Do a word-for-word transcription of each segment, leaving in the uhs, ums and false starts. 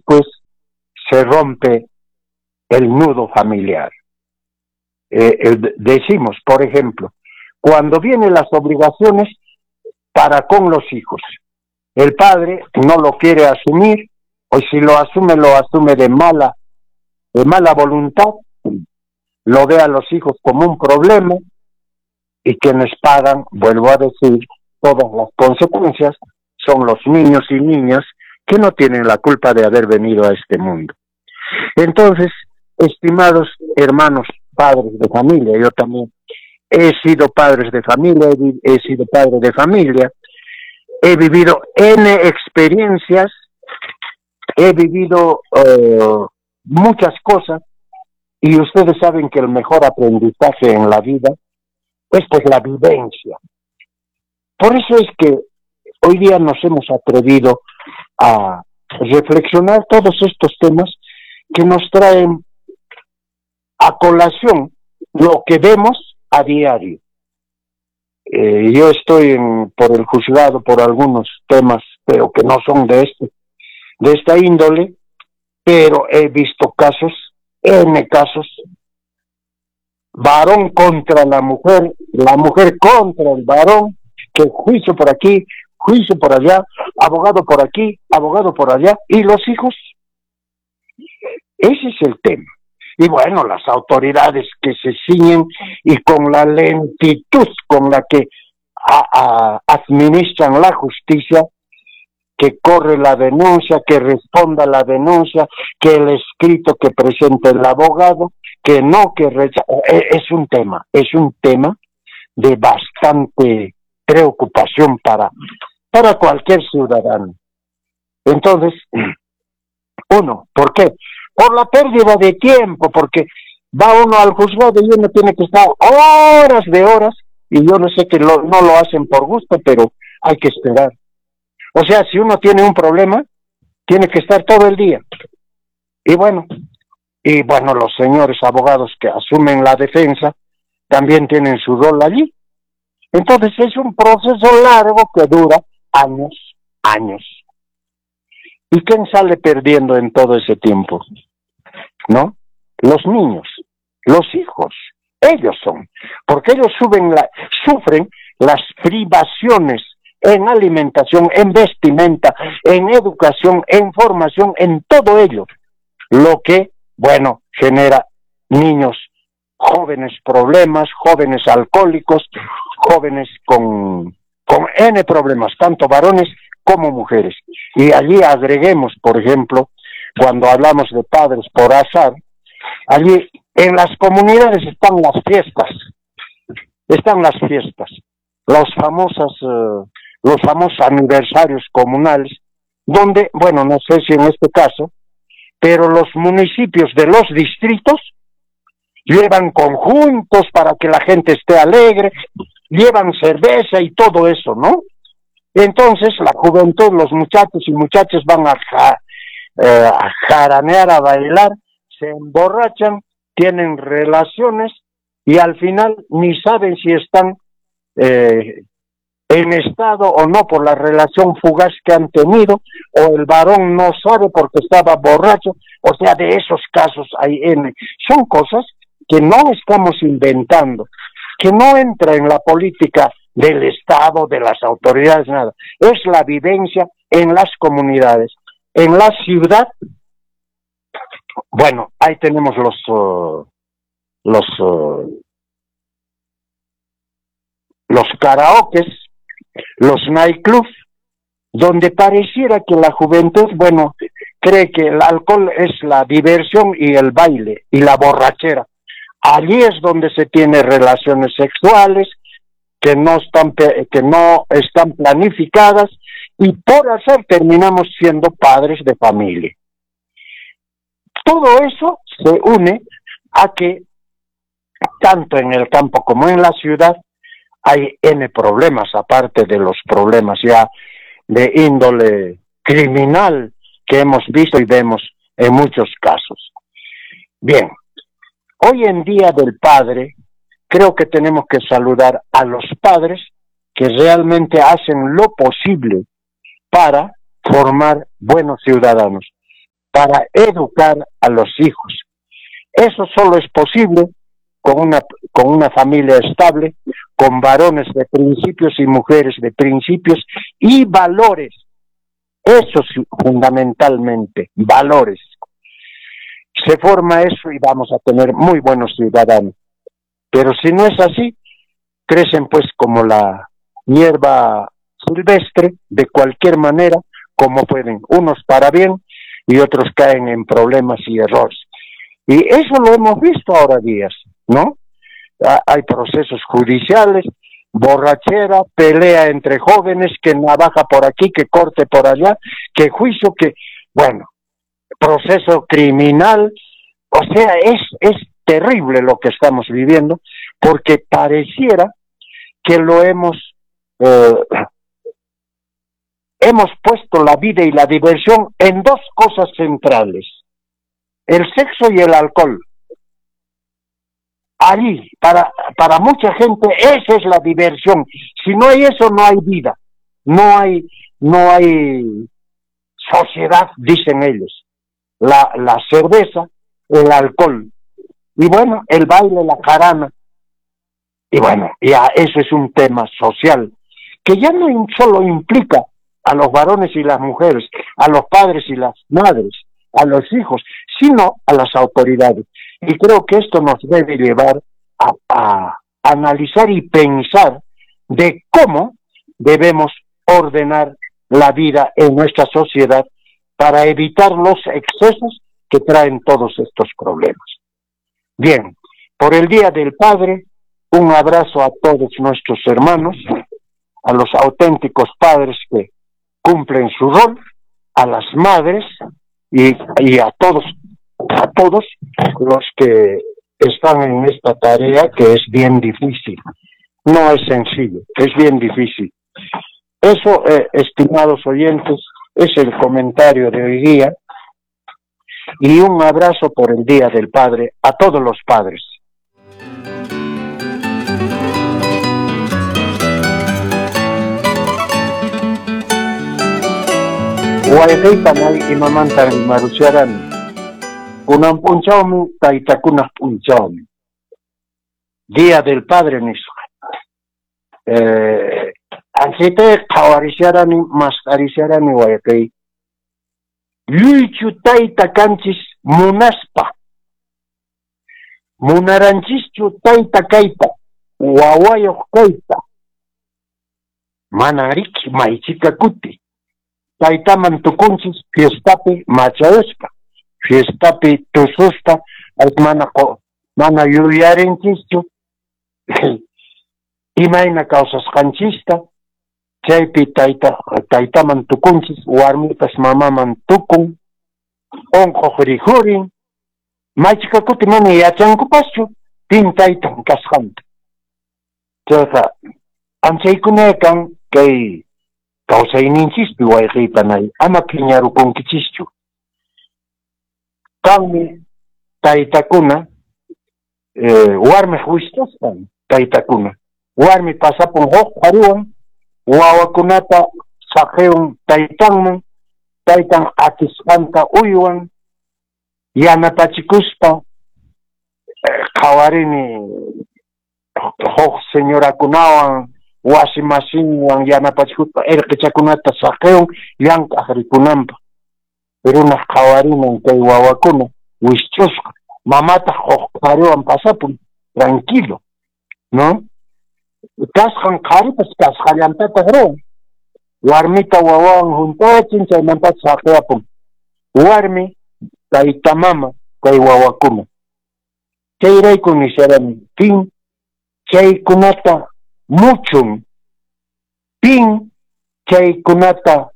pues se rompe el nudo familiar. Eh, eh, decimos, por ejemplo, cuando vienen las obligaciones para con los hijos, el padre no lo quiere asumir, o si lo asume, lo asume de mala, de mala voluntad, lo ve a los hijos como un problema, y quienes pagan, vuelvo a decir, todas las consecuencias son los niños y niñas que no tienen la culpa de haber venido a este mundo. Entonces, estimados hermanos, padres de familia, yo también he sido padres de familia, he, he sido padre de familia, he vivido N experiencias, he vivido uh, muchas cosas, y ustedes saben que el mejor aprendizaje en la vida es pues la vivencia. Por eso es que hoy día nos hemos atrevido a reflexionar todos estos temas que nos traen a colación lo que vemos a diario. Eh, yo estoy en, por el juzgado por algunos temas, pero que no son de este, de esta índole, pero he visto casos, N casos, varón contra la mujer, la mujer contra el varón, que juicio por aquí, juicio por allá, abogado por aquí, abogado por allá, y los hijos. Ese es el tema. Y bueno, las autoridades que se ciñen y con la lentitud con la que a, a, administran la justicia, que corre la denuncia, que responda la denuncia, que el escrito que presente el abogado, que no, que rechaza. Es un tema, es un tema de bastante preocupación para, para cualquier ciudadano. Entonces, uno, ¿por qué? Por la pérdida de tiempo, porque va uno al juzgado y uno tiene que estar horas de horas, y yo no sé que lo, no lo hacen por gusto, pero hay que esperar. O sea, si uno tiene un problema, tiene que estar todo el día. Y bueno, y bueno, los señores abogados que asumen la defensa también tienen su rol allí. Entonces es un proceso largo que dura años, años. ¿Y quién sale perdiendo en todo ese tiempo? ¿No? Los niños, los hijos, ellos son, porque ellos suben la, sufren las privaciones en alimentación, en vestimenta, en educación, en formación, en todo ello, lo que, bueno, genera niños jóvenes problemas, jóvenes alcohólicos, jóvenes con, con N problemas, tanto varones como mujeres. Y allí agreguemos, por ejemplo, cuando hablamos de padres por azar, allí en las comunidades están las fiestas, están las fiestas, los famosas, eh, los famosos aniversarios comunales, donde, bueno, no sé si en este caso, pero los municipios de los distritos llevan conjuntos para que la gente esté alegre, llevan cerveza y todo eso, ¿no? Entonces la juventud, los muchachos y muchachas van a, ja, eh, a jaranear, a bailar, se emborrachan, tienen relaciones y al final ni saben si están eh, en estado o no por la relación fugaz que han tenido, o el varón no sabe porque estaba borracho. O sea, de esos casos hay N. Son cosas que no estamos inventando, que no entra en la política del Estado, de las autoridades, nada. Es la vivencia en las comunidades. En la ciudad, bueno, ahí tenemos los uh, los uh, los karaokes, los nightclubs, donde pareciera que la juventud, bueno, cree que el alcohol es la diversión y el baile y la borrachera. Allí es donde se tiene relaciones sexuales que no están, que no están planificadas, y por hacer terminamos siendo padres de familia. Todo eso se une a que tanto en el campo como en la ciudad hay N problemas, aparte de los problemas ya de índole criminal que hemos visto y vemos en muchos casos. Bien, hoy en Día del Padre, creo que tenemos que saludar a los padres que realmente hacen lo posible para formar buenos ciudadanos. para educar a los hijos. Eso solo es posible con una, con una familia estable, con varones de principios y mujeres de principios y valores. Eso sí, fundamentalmente, valores. Se forma eso y vamos a tener muy buenos ciudadanos. Pero si no es así, crecen pues como la hierba silvestre, de cualquier manera, como pueden, unos para bien y otros caen en problemas y errores. Y eso lo hemos visto ahora días, ¿no? Hay procesos judiciales, borrachera, pelea entre jóvenes, que navaja por aquí, que corte por allá, que juicio, que, bueno, proceso criminal. O sea, es, es terrible lo que estamos viviendo, porque pareciera que lo hemos, eh, hemos puesto la vida y la diversión en dos cosas centrales, el sexo y el alcohol. Allí, para, para mucha gente, esa es la diversión. Si no hay eso, no hay vida, no hay, no hay sociedad, dicen ellos. La, la cerveza, el alcohol, y bueno, el baile, la jarana. Y bueno, ya eso es un tema social, que ya no solo implica a los varones y las mujeres, a los padres y las madres, a los hijos, sino a las autoridades. Y creo que esto nos debe llevar a, a analizar y pensar de cómo debemos ordenar la vida en nuestra sociedad para evitar los excesos que traen todos estos problemas. Bien, por el Día del Padre, un abrazo a todos nuestros hermanos, a los auténticos padres que cumplen su rol, a las madres y, y a todos, a todos los que están en esta tarea, que es bien difícil. No es sencillo, es bien difícil. Eso, eh, estimados oyentes, es el comentario de hoy día. Y un abrazo por el Día del Padre a todos los padres. Wayqiypanay imamanta rimarusharani. Kunan p'unchawmi taytakunaq p'unchawmi. Día del Padre nisqa. Eh, anchayta qhawarisharani, masqarisharani wayqiy. Lluychu tayta kanchis munaspa. Munaranchischu tayta kayta, wawayuq kayta. Manan riki maychika kuti. Taytaman tukunchis fiestapi machayuspa, fiestapi tususpa, mana, mana yuyarinchischu imayna kawsasqanchista, chaypi tayta, taytaman tukunchis, warmipas mamaman tukun, unquq rikhurin, maychika kuti mana yachankupaschu pin taytan kasqanta. Chayqa anchaykuna kan kay kawsayninchispi wayqiypanay, ama phiñarukunkichischu. Kanmi taytakuna, eh, warmiq wistasqan taytakuna, warmi pasapun huk qhariwan, wawakunata saqiyun taytanman, taytan atisqanta uywan, yanapachikuspa, eh, qhawarini huk señorakunawan, wasi masinwan yanapachikuspa irqichakunata saqiyun llank'aq rikunanpaq. Runaq qhawarinan kay wawakuna wisch'usqa, mamataq huk qhariwan pasapun tranquilo, ¿no? Kasqan qharipas kasqallantataq ruwan. Warmita wawawan juntachin, chaymanta saqiyapun. Warmi, tayta mama, kay wawakuna. Chayrayku nisharani, pin chaykunata muchun, pin chaykunata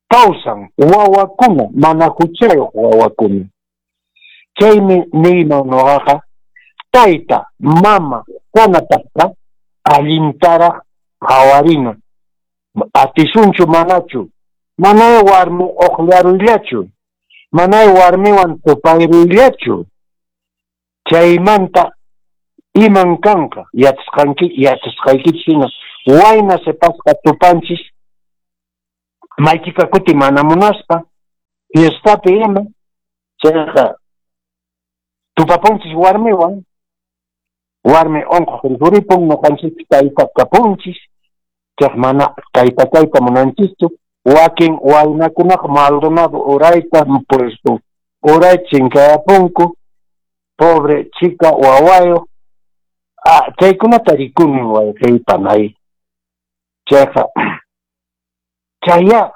kawsan wawakuna, mana huchayuq wawakuna. Chaymi niyman nuqaqa, tayta, mama kanapaqqa allintaraq qhawarina. Atisunchu manachu, manay warmi uqllaruyllachu, manay warmiwan tupayruyllachu. Chaymanta iman kanqa, yachasqanki, yachasqaykichis hina, wayna sipasqa tupanchis, maychika kuti mana munaspa, Fiestapi ima, chayqa tupapunchis warmiwan, warmi unquq rikhuripun, ñuqanchikpi tayta kapunchis, chayqa mana tayta kayta munanchischu. Wakin waynakunaqa Maldonado urayta puesto uray chinkayapunku, pobre chica wawayuq. Ah, chaykunata rikuni wayqiy panay. Chayqa chaya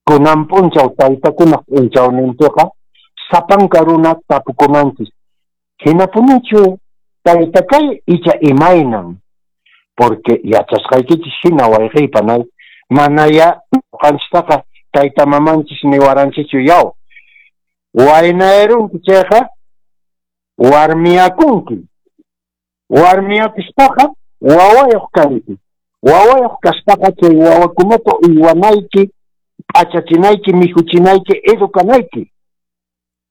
kunan p'unchaw taytakunaq p'unchawninpiqa sapanka runa tapukunanchis, hinapunichu tayta kay icha imaynan? Porque yachasqaykichis hina wayqiy panay, manaya ñuqanchistaqa tayta mamanchis niwaranchikchu yaw waynayarunki chayqa warmiyakunki, warmiyakuspaqa wawayuq kanki, wawayuq kaspaqa chay wawakunata uywanayki, p'achachinayki, mikhuchinayki, educanayki,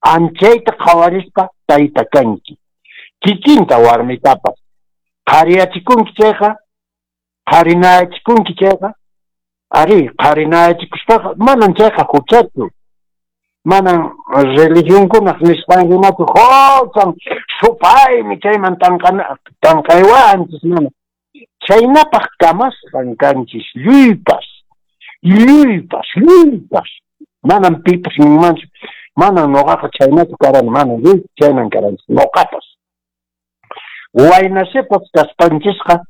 anchayta qhawarispa tayta kanki. Kikinta warmitapas qhariyachikunki chayqa, qharinayachikunki chayqa, ari qharinayachikuspaqa manan chayqa huchachu, manan religionkunaq nisqan hinachu huchan supaymi chayman tanqana tanqaywanchis, mana chaynapaq kamasqan kanchis lluypas, lluypas, lluypas, manan pipas ninmanchu, manan ñuqaqa chaynachu karani, manan lluy chaynan karanchis ñuqapas. Wayna sipas kaspanchisqa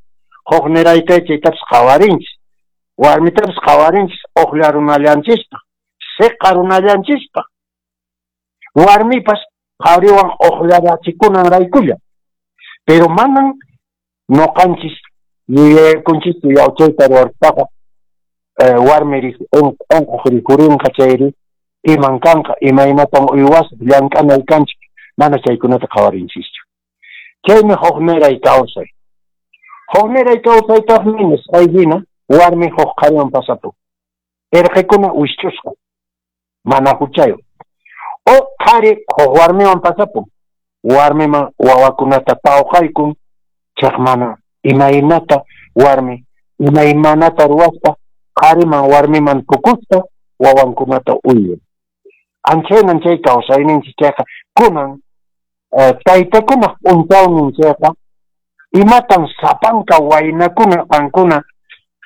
hukniray kay chaytapas qhawarinchis, warmitapas qhawarinchis uqllarunallanchispaq, siqarunallanchispaq, warmipas qhariwan uqllarachikunan raykulla. Pero manan ñuqanchis yuyaykunchischu yaw chayta ruwarpaqa warmi unquq rikhurinqa chayri iman kanqa, imaynatan uywasaq, llank'anay kanchik, mana chaykunata qhawarinchischu. Chaymi hukniray kawsay. Hukniray kawsaytaqmi nisqay hina warmi huk qhariwan pasapun, irqikuna wisch'usqa, mana huchayuq. O qhari huk warmiwan pasapun, warmiman wawakunata tawqaykun, chayqa mana imaynata warmi imaymanata ruwaspa qhariman warmiman tukuspa wawankunata uywan. Anchaynan chay kawsayninchis chayqa kunan taytakunaq p'unchawnin chayqa imatan sapanka waynakuna qankuna,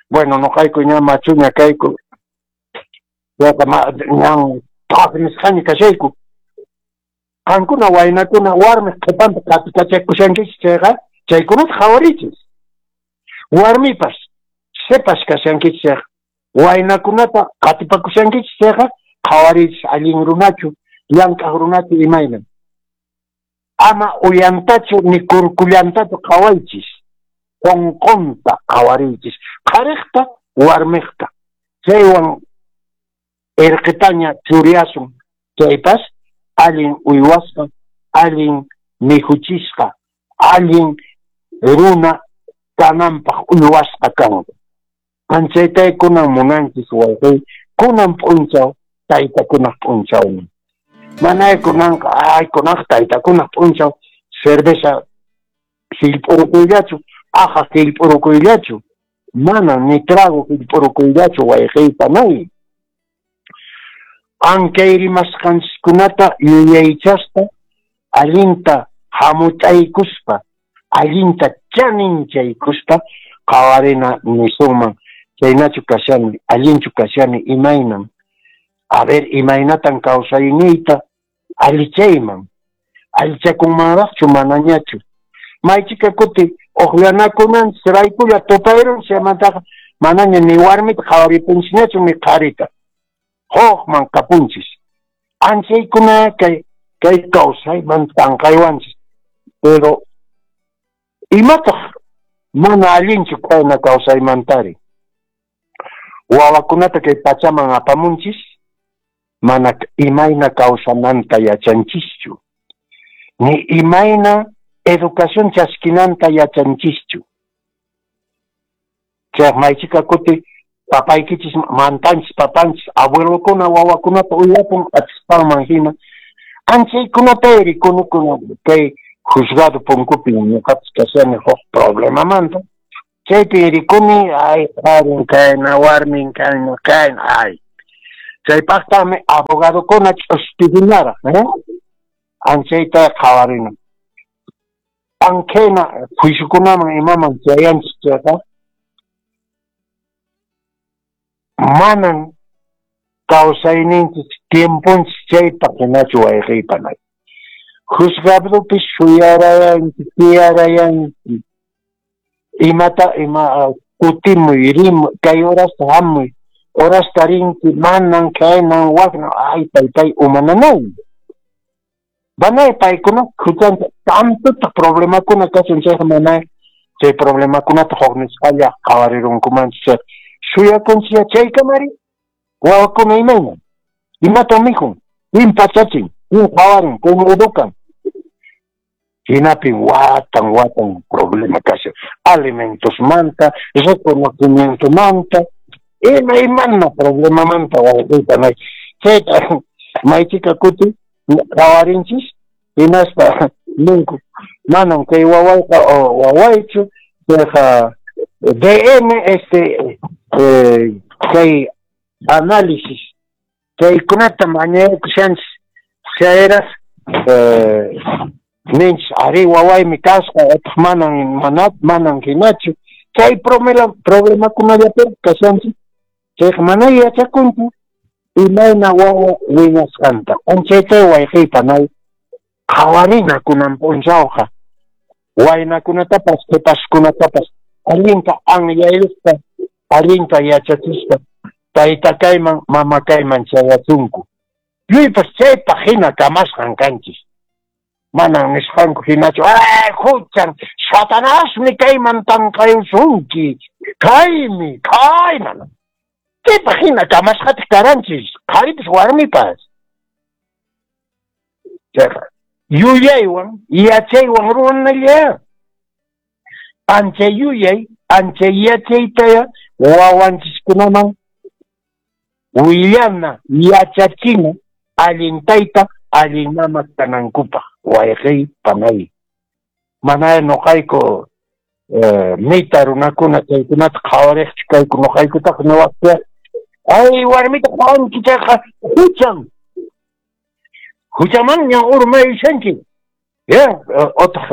bueno, ñuqayku ña machuña kayku, chayqa ñan thaq nisqaña kashayku. Qankuna waynakuna warmiq qhipanta qatikachakushankichis chayqa chaykunata qhawarichis. Warmipas sipas kashankichis chayqa waynakunata qatipakushankichis chayqa qhawarichis allin runachu, llank'aq runachu imaynan. Ama uyantachu ni kurkullantachu qhawaychis, qunqunta qhawariychis, qhariqta warmiqta. Chaywan irqitaña churiyasun chaypas allin uywasqa, allin mikhuchisqa, allin runa kananpaq uywasqa kanqa. Anchaytay kunan munanchis wayqiy, kunan p'unchaw taytakunaq p'unchawnin. Manay kunanqa, ay kunanqa taytakunaq p'unchaw cerveza hillp'urukuyllachu, aja hillp'urukuyllachu, mana ni trago hillp'urukuyllachu wayqiy panay. Ankay rimasqanchiskunata yuyaychaspa, allinta hamut'aykuspa, allinta chaninchaykuspa qhawarina nisunman, chaynachu kashani, allinchu kashani, imaynan. A ver, imaynatan kawsayniyta allichayman, allichakunmanraqchu manañachu. Maychika kuti uqllanakunanchis raykulla tupayrunchis, chaymantaqa manaña ni warmita qhawaripunchisñachu ni qharita, hukman kapunchis. Anchaykuna kay kay kawsayman tanqaywanchis. Pero imataq mana allinchu kayna kawsaymantari? Wawakunata kay pachaman apamunchis, mana imayna kawsananta yachanchischu, ni imayna educación chaskinanta yachanchischu. Chay maychika kuti papaykichis mantanchis, papanchis, abuelokuna wawakunata uywapun atispanman hina. Anchaykunata rikunukuna kay juzgado punkupi ñuqapas kashani huk problemamanta. Chaypi rikuni, ay, qharin kayna, warmin kayna, kayna, ay. Chaypaqtaqmi abogadokuna ch'uspikunaraq, eh? Anchayta qhawarina. Ankhayna juiciokunaman imaman chayanchis chayqa, manan kawsayninchis tiemponchis chaypaq hinachu wayqiypanay. Juzgadopi suyarayanki, tiyarayanki, imata ima kutimuy, rimuy, kay horasta hamuy, horasta rinki, manan kaynan waknan, ay taytay umananay. Manay paykuna huchanta tantota problemakuna kashan chayqa manay chay problemakunata huk nisqalla qhawarirunkumanchu chay suyakunchis chaykamari wawakuna imayna imatan mikhun, pin pachachin, pin qhawarin, pin educan. Hinapin watan watan problema kashan alimentosmanta, reconocimientomanta, ima imana problemamanta wawqiyta chayta maychika kuti qhawarinchis hinaspa ninku manan kay wawayqa wawaychu chayqa D N este eh, kay análisis chaykunata mañakushanchis chayras eh, ninchis ari wawaymi kasqa otaq manan mana manan hinachu chay problema problemakunallapi kashanchis chayqa mana yachakunchu imayna wawa wiñasqanta anchayta wayqiypanay qhawarina kunan p'unchawqa waynakunatapas qhipaskunatapas allinta anyayuspa allinta yachachispa tayta kayman mama kayman chayachunku lluypas chaypaq hina kamasqan kanchis manan nisqanku hinachu ay huchan satanasmi kayman tanqayusunki kaymi kayman chaypaq hina kamasqataq karanchis qharipas warmipas chayqa yuyaywan yachaywan ruwanalla ancha yuyay ancha yachaytaya wawanchiskunaman willana yachachina allin tayta allin mama kanankupaq wayqiy panay manay nuqayku eh, mita runakuna chaykunata qhawariqchu kayku nuqaykutaq niwaqcha ay warmita qhawanki chayqa huchan huchamanña urmayushanki ya otaq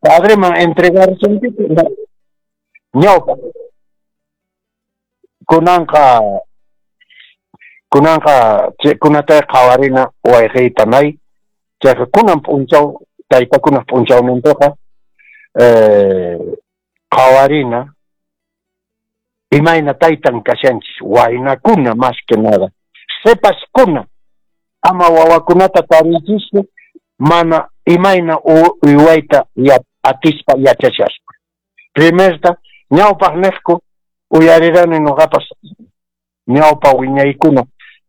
padreman entregarushanki ñawpa kunanqa kunanqa kunatay qhawarina wayqiypanay chayqa kunan p'unchaw taytakunaq p'unchawninpiqa eh, qhawarina imayna taytan kashanchis waynakuna más que nada sipaskuna ama wawakunata tarichispa mana imayna uywayta atispa yachashaspa primerta ñawpaq niqku uyarirani nuqapas ñawpa wiñaykuna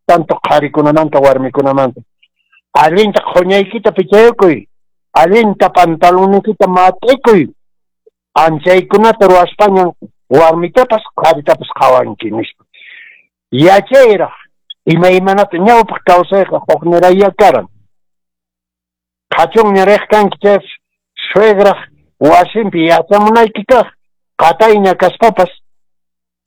tanto qharikunamanta warmikunamanta allinta qhuñaykita pichaykuy allinta pantalonikita mat'ikuy anchaykunata ruwaspañan warmitapas qharitapas qhawanki nispa yachayraq imaymanata ñawpaq kawsayqa hukniraya karan qhachunña riq kanki chay suegraq wasinpi yachamunayki kaq qatayña kaspapas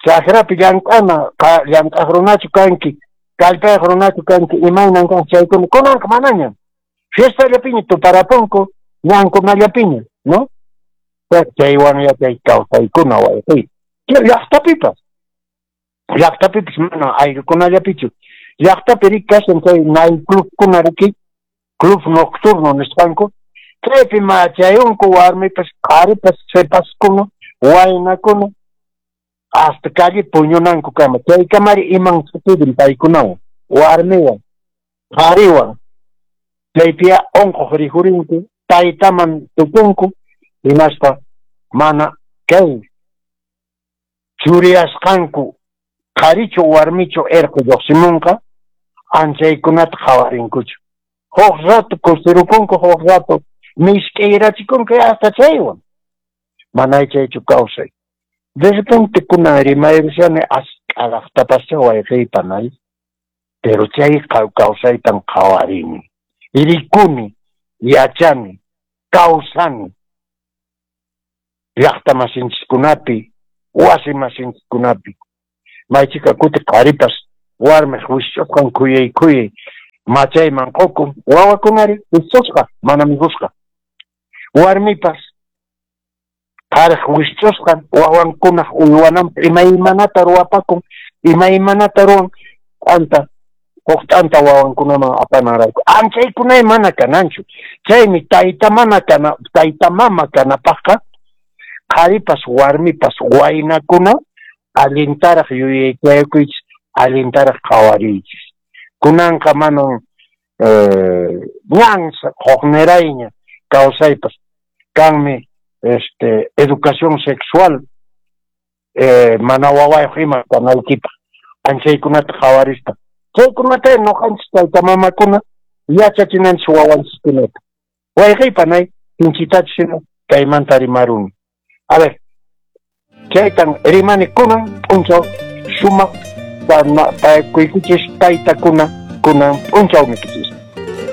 chakrapi llank'ana llank'aq runachu kanki kallpayaq runachu kanki imaynan kan chaykuna kunanqa manaña fiestallapiña tuparapunku ñankunallapiña no chaywan yachay kawsaykuna wayqiy llaqtapipas llaqtapipas mana ayllukunallapichu llaqtapi riki kashan chay nightclubkuna riki club nocturno nisqanku chaypi machayunku warmipas qharipas sipaskuna waynakuna hasta calle puñunanku kama chaykamari iman suceden paykunawan warmiwan qhariwan chaypiya unquq rikhurinku taytaman tukunku hinaspa mana kay churiyasqanku qharichu warmichu irqu lluqsimunqa anchaykunata qhawarinkuchu huk rato kusirukunku huk rato misk'irachikunku hasta chaywan manay chaychu kawsay de repente kunan rimayrushani ask'araqtapascha wayqiypanay pero chay kawsaytan qhawarini rikuni yachani kawsani llaqta masinchikkunapi wasi masinchikkunapi maychika kuti qharipas Warmiq wisch'usqan khuyay khuyay machayman qukun, wawakunari wisch'usqa mana mikhusqa. Warmipas qhariq wisch'usqan wawankunaq uywananpaq imaymanata ruwapakun, imaymanata ruwan t'anta huk t'anta wawankunaman apananrayku. Anchaykunay mana kananchu. Chaymi tayta mana kana tayta mama kanapaqqa qharipas warmipas waynakuna allintaraq yuyaychayakuychis, allintaraq qhawariychis. Kunanqa manan ñan huknirayña kawsaypas kanmi este educación sexual eh, mana wawayuq ima kanaykipaq anchaykunata qhawarispa. Chaykunata ñuqanchis tayta mamakuna yachachinanchis wawanchiskunata. Wayqey panay sinchitachus hina kaymanta rimaruni. A ver, chaytan rimani kunan p'unchaw sumaq paykuykichis taytakuna kunan p'unchawnikichis.